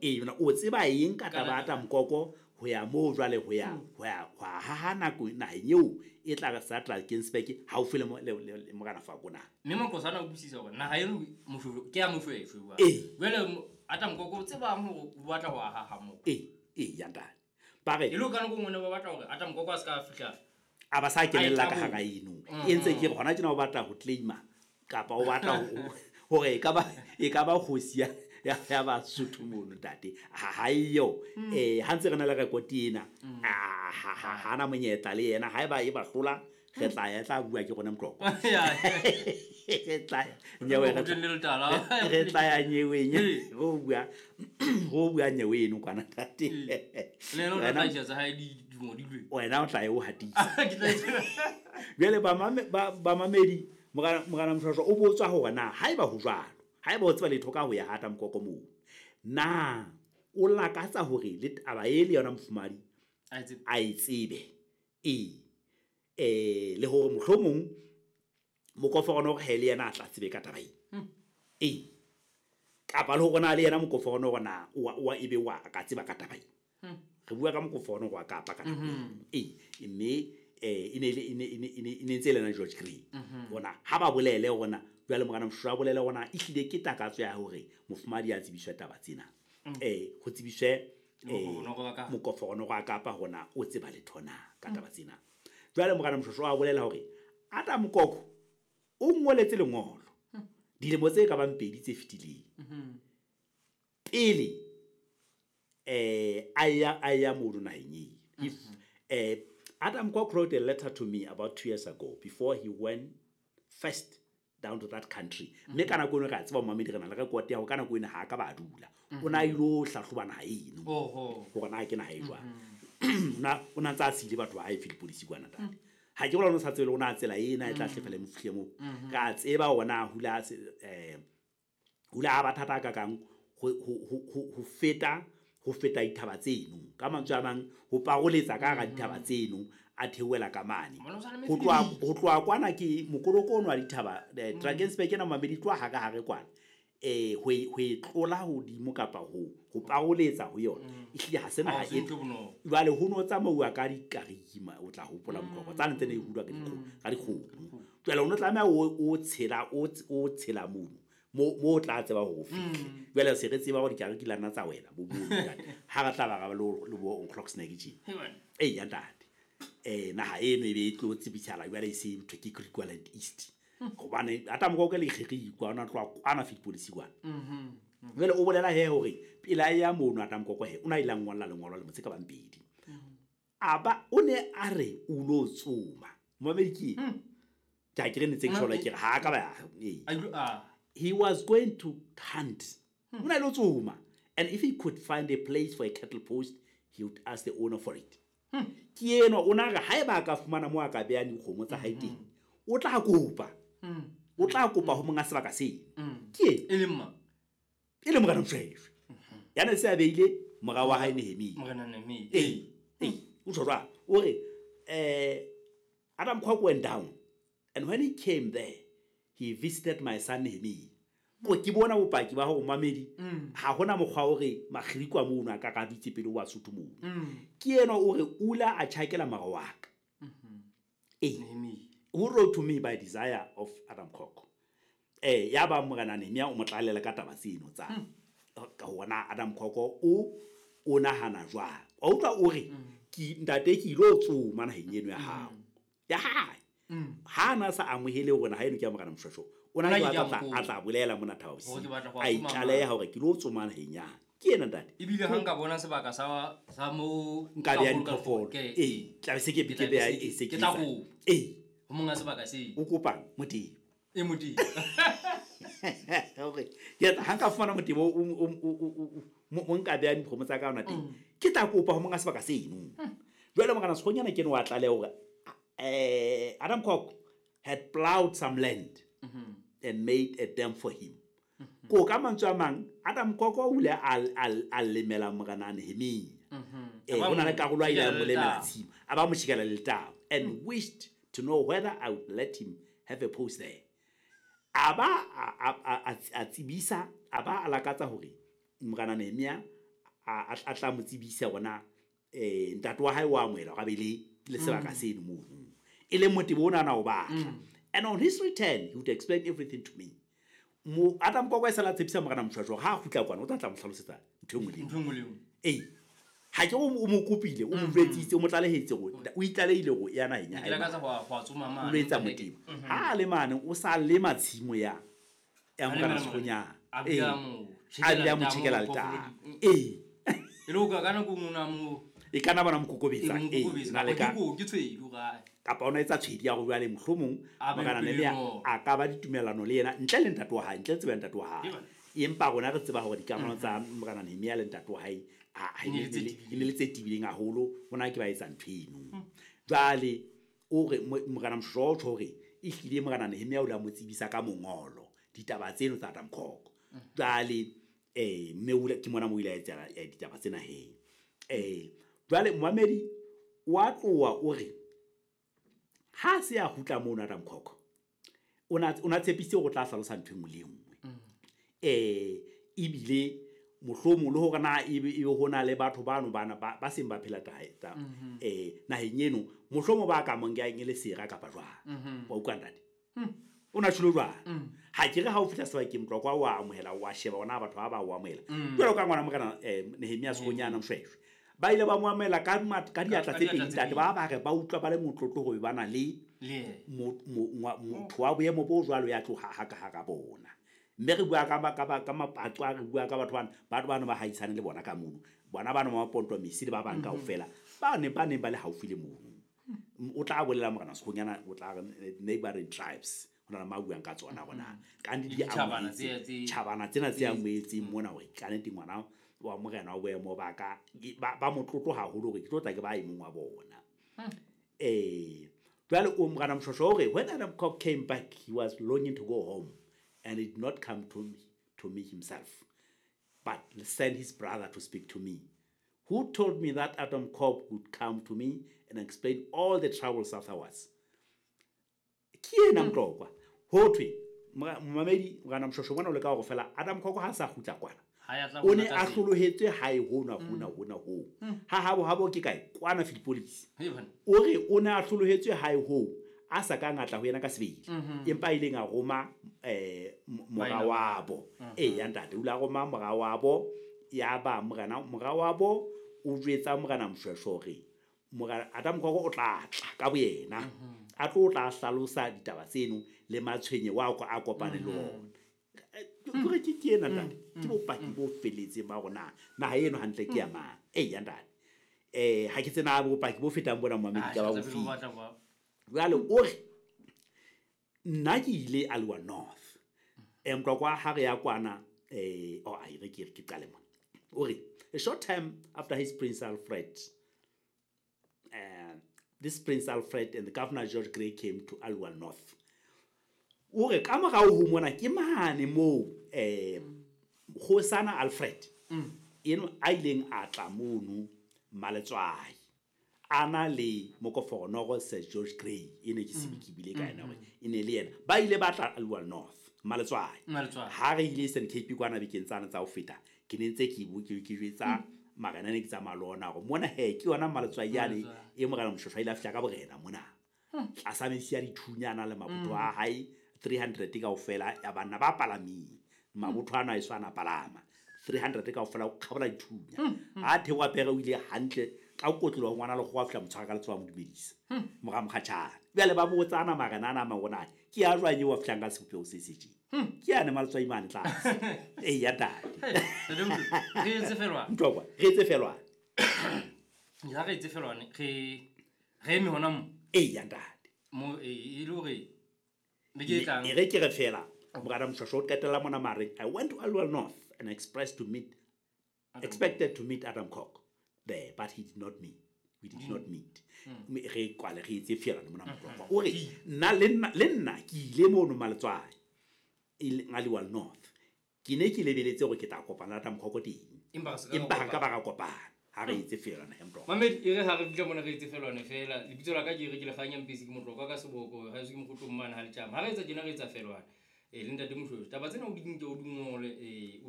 Ee, o tseba eng ka taba ya Atamkoko ho ya moo jwale ho ya ho ya ho haha nako naheng eo e tla re sa Drakensberg haufi le le Morena Fako na? Mme Maqosa ana utlwisisa hore naha eno Moshoeshoe ke ya Moshoeshoe jwale. Jwale Atamkoko o tsebang hore o batla ho haha moo. Ee, ee, ya ntate. Ba re e le ka nako nngwe ne ba batla hore Atamkoko a se ka fihla a ba sa kenella ka hara eno. E ntse ke re hona tjena o batla ho claima kapa o batla hore e ka ba kgosi ya Basotho mono ntate. Ha eyo. Ha ntse re na le record ena, ha na monyetla le yena. Haeba e ba hlola, re tla ya tla bua ke rona Moqoqo. Re tla nyewe re tla ya nyeweng ho bua nyewe eno kwana ntate. Le yena o tla hlahisa hae di ngodilwe. Wena o tla e o hatisa. Jwale ba mamedi Morena Moshoeshoe o botswa hore na haeba ho jwalo, haeba o tseba letho ka ho ya ha Atamkoko moo, na o lakatsa hore le taba e le yona mofumahadi a e tsebe. Ee, le hore mohlomong mokoforono hore le yena a tla tsebe ka taba ena. Ee, kapa le hore na le yena mokoforono hore na wa ebe wa ka tseba ka taba ena. Re bua ka mokoforono wa Kapa ka nako eo. Ee, mme e ne ntse le yena George Grey. Hona ha ba bolele hona jwale Morena Moshoeshoe a bolele hona ehlile ke takatso ya hore mofumahadi a tsebiswe taba tsena. Ho tsebiswe mokoforono wa Kapa hona o tseba letho na ka taba tsena. Jwale Morena Moshoeshoe a bolela hore Atamkoko o ngoletse lengolo dilemo tse ka bang 2 tse fetileng. Pele a ya mono naheng eo. If Atamkoko wrote a letter to me about 2 years ago before he went first down to that country. Mme ka nako eno re a tseba momamedi re na le record ya hore ka nako eno ha ka ba dula. O na ilo hlahloba naha eno. Hore na ke naha e jwang. O na ntse a siile batho ba hae Philippolis kwana ntate. Ha ke bona o sa tsebe le ona tsela ena e tla hlefela mo fihle moo. Re a tseba hore na hula hula ba thata ka kang ho feta ho feta dithaba tseno. Ka mantswe a mang ho paroletsa ka hara dithaba tseno a theohela ka mane. Ho tloha kwana ke mokoloko ono wa dithaba, Drakensberg ena mamedi tloha hare hare kwana. Ho e tlola hodimo kapa ho paroletsa ho yona. Ehlile ha se naha e jwale ho no tsamauwa ka dikariki o tla hopola Moqoqo tsane tse ne e hulwa ka dikgomo. Jwale o no tlameha o tshela o tshela mono mo o tla tseba hore o fihle. Jwale se re tseba hore dikariki la nna tsa wela bo bo ntate. Ha re tla ba ra le bo O'Clock Snack tje. Ee ya ntate. Naha eno e be e tlo tsebisala jwale e se ntho ke Griqualand East. Hobane Atamkoko le Kgerikwa ona tloha kwana Philippolis kwana. Jwale o bolela he hore pela ya mono Atamkoko he o na ile a ngolla lengolo le motse ka bang pedi. Aba o ne a re o lo tsoma. Momamedi ke ke a ke re ne tse ke tjho ke re ha ka ba ee. He was going to hunt. O na ile tsoma. And if he could find a place for a cattle post, he would ask the owner for it. Ke eno o na re haeba a ka fumana mo a ka beha dikgomo tsa hae teng, o tla kopa. O tla kopa ho monga sebaka seno. Ke e leng mang? E le Morena Moshoeshoe. Ya ne se a beile mora wa hae Nehemia. Morena Nehemia. Ee, ee, o tjho jwang? O re Atamkoko went down and when he came there, he visited my son Nehemia. Ko ke bona bopaki ba hore mamedi ha hona mokgwa hore Makgirikwa mono a ka ka dutse pele wa Sotho mono. Ke ena o re ula a tjhakela mora wa ka. Ee. Who wrote to me by desire of Atamkoko. Ya ba Morena Nehemia o mo tlalela ka taba tseno tsa ka hona Atamkoko o nahana jwang. Wa utlwa o re ke ntate ke ilo tsoma naheng eno ya hao. Ya hae. Ha na sa amohele hore naha eno ke ya Morena Moshoeshoe. O na ke a tla bolela mona Thaba Bosiu. A itlaleha hore ke lo tsoma naheng ya. Ke ena ntate. Ebile ha nka bona sebaka sa mo nka beha diphoofolo. Ee, tla be se ke beha e se ke tla go. Ee. Ho monga sebaka se. O kopang Motebo. E Motebo. Hore ke ha nka fumana Motebo o nka beha dikgomo tsa ka hona teng. Ke tla kopa ho monga sebaka seno. Jwale Morena Sekgonyana ke no wa tlaleha hore Atamkoko had plowed some land and made a dam for him. Ko ka mantswe a mang Atamkoko o ile a lemela Morena Nehemia. Ho na le karolo a ile a mo lemela tshimo. A ba mo tjhekela letamo and wished to know whether I would let him have a post there. A ba a tsebisa, a ba a lakatsa hore Morena Nehemia a tla mo tsebisa hore na ntate wa hae wa amohela hore a be le sebaka seno mono. E leng motebo ona na o batla. And on his return, he would explain everything to me. Mo Adam Koko e sala tshepisa Morena Moshoeshoe hore ha a kgutla kwana o tla tla mo hlalosetsa ntho e nngwe le e nngwe. Ntho e nngwe le e nngwe. Ee. Ha ke o mo kopile, o mo jwetsitse, o mo tlalehetse hore o itlalehile hore ya naheng ya Ke lakatsa ho a tsoma mane. O lo etsa motebo. Ha a le mane, o sa lema tshimo ya A Morena lema Sekgonyana. A Ee. bile a mo A bile a mo tjhekela tjhekela letamo, letamo. phoofolo Ee. E le ho ka nako e nngwe o na mo E ka nna bona mo kokobetsa. E mo Ee, kokobetsa. na le Kapa ka ke ko, ke tshwedi o kae? Kapa o na etsa tshwedi ya hore jwale mohlomong A be Morena pele Nehemia mo. a ka ba ditumellano le yena ntle le ntate wa hae, ntle le tsebo ya ntate wa hae. Ke bana. Empa rona re tseba hore dikamano tsa Morena Nehemia le ntate wa hae, E ne le tse tebileng. e ne le tse tebileng haholo, hona ke ba etsa ntho eno. Jwale o re Morena Moshoeshoe o tjho hore ehlile Morena Nehemia o ile a mo tsebisa ka mongolo ditaba tseno tsa Adam Kok. Jwale mme o ile, ke mona mo o ile a etsa ditaba tsena he. Jwale momamedi wa tloha o re ha se a kgutla mono Adam Kok, o na tshepisitse hore o tla hlalosa ntho e nngwe le e nngwe. Ebile mohlomong le hore na ebe ho na le batho bano bana ba seng ba phela naheng eno, mohlomong ba ka mo nkang e le sera kapa jwang. Wa utlwa ntate? O na tjholo jwang? Ha ke re ha o fihla sebakeng Tlokwa wa amohela, wa sheba hore na batho ba ba o amohela. Jwalo ka ngwana Morena Nehemia Sekgonyana Moshoeshoe. Ba ile ba mo amohela ka diatla Ka tse diatla pedi tse ntate. pedi. Ba ba re ba utlwa ba le motlotlo hore ba na le Le yena. motho wa boemo bo jwalo ya tlo haha ka hara bona. Mme re bua ka mapatso a, re bua ka batho bana, batho bana ba haisane le bona ka mono. Bona bana ba Maponto Mesi le ba bang kaofela, ba ne ba neng ba le haufi le mono. O tla bolela Morena Sekgonyana, o tla re neighboring tribes, ho na le ma buang ka tsona hore na ka nnete di Ditjhabana amohetse, tse, tse, tjhabana tsena tse tse amohetseng mona hore ka nnete ngwana wa morena wa boemo ba ka, ba motlotlo haholo hore ke tlo tla ke ba e mong wa bona. Jwale o Morena Moshoeshoe o re, when Adam Kok came back, he was longing to go home and he did not come to me himself, but sent his brother to speak to me, who told me that Adam Kok would come to me and explain all the troubles afterwards. Ke ena Mtlokwa. Ho thwe, momamedi, Morena Moshoeshoe mona o leka hore fela Adam Kok ha sa kgutla kwana. Ha ya tla O ne bona a ka tsela. hlolohetswe hae hona, hona, hona, hoo. Ha habo, habo ke kae? Kwana Philippolis. Hei bana. O re o ne a hlolohetswe hae hoo, a sa ka ngatla ho yena ka sebele. Empa a ileng a roma mora Baena. wabo. Ee, ya ntate, o ile a roma mora wabo, ya ba mora wabo o jwetsa Morena Moshoeshoe hore Adam Kok o tla tla ka boyena. A tlo tla hlalosa ditaba tseno le matshwenye wa a kopane le ona. Ke re ke ena ntate, ke bopaki bo felletseng ba hore na naha eno hantle ke ya mang. Ee, ya ntate. Ha ke tsena bopaki bo fetang bona momamedi Ah, ka ba tla bo be file. batla ba. Jwale o re nna ke ile Aliwal North. Mtlokwa ha re ya kwana, oh, ai, re ke, ke qale mona. O re, a short time after his Prince Alfred, this Prince Alfred and the Governor George Grey came to Aliwal North. O re, ka morao ho mona ke mane moo, Kgosana Alfred, eno a ileng a tla mono Maletswai, a na le mokoforonoro Sir George Grey, e ne ke se ke bile ka yena hore e ne le yena. Ba ile ba tla Aliwal North, Maletswai. Maletswai. Ha re ile Eastern Cape kwana bekeng tsane tsa ho feta, ke ne ntse ke ke jwetsa marena ne ke tsamaya le ona hore mona he, ke yona Maletswai yane Maletswai. e Morena Moshoeshoe a ile a fihla ka borena mona. Tlasa metsi a dithunyana le mabotho a hae, 300 kaofela ya banna ba palameng. Mabotho ana a eso a na palama. 300 kaofela o kgabola dithunya. Ha theoha pere o ile hantle ka kotloloho ngwana le kgowa fihla motshwara ka letsoho a mo dumedisa. Mora mokgatjhane. Jwale ba botsana marena ana a mang hore na ke ya jwang eo a fihlang ka sebopeho se se tjena. Ke yane Maletswai mane tlase. Ee, ya ntate. Hey, ntate Motho, re etse felwane. Mtlokwa, re etse felwane. Ya re etse felwane, re eme hona mo. Ee, ya ntate. Mo, e le hore beke e tlang. E re ke re fela, Morena Moshoeshoe o qetella mona mareng, I went to Aliwal North and expressed to meet, expected to meet Adam Kok there, but he did not meet. We did not meet. Mme re kwale re etse felwane mona Mtlokwa. O re, nna le nna, le nna ke ile mono Maletswai, e leng Aliwal North. Ke ne ke lebeletse hore ke tla kopana le Adam Kok teng. Empa re se ka Empa ha kopana. ka ba ra kopana. Ha re etse felwane he Mtlokwa. Mamedi, e re ha re fihla mona re etse felwane fela. Lebitso la ka ke re ke Lekganya Mpisi, ke Motlokwa ka seboko, ha eso ke mokgotlong mane ha letjama. Ha re etsa tjena re etsa felwane. Ee, le ntate Moshweshwe, taba tsena o di nke o di ngole, ee, o.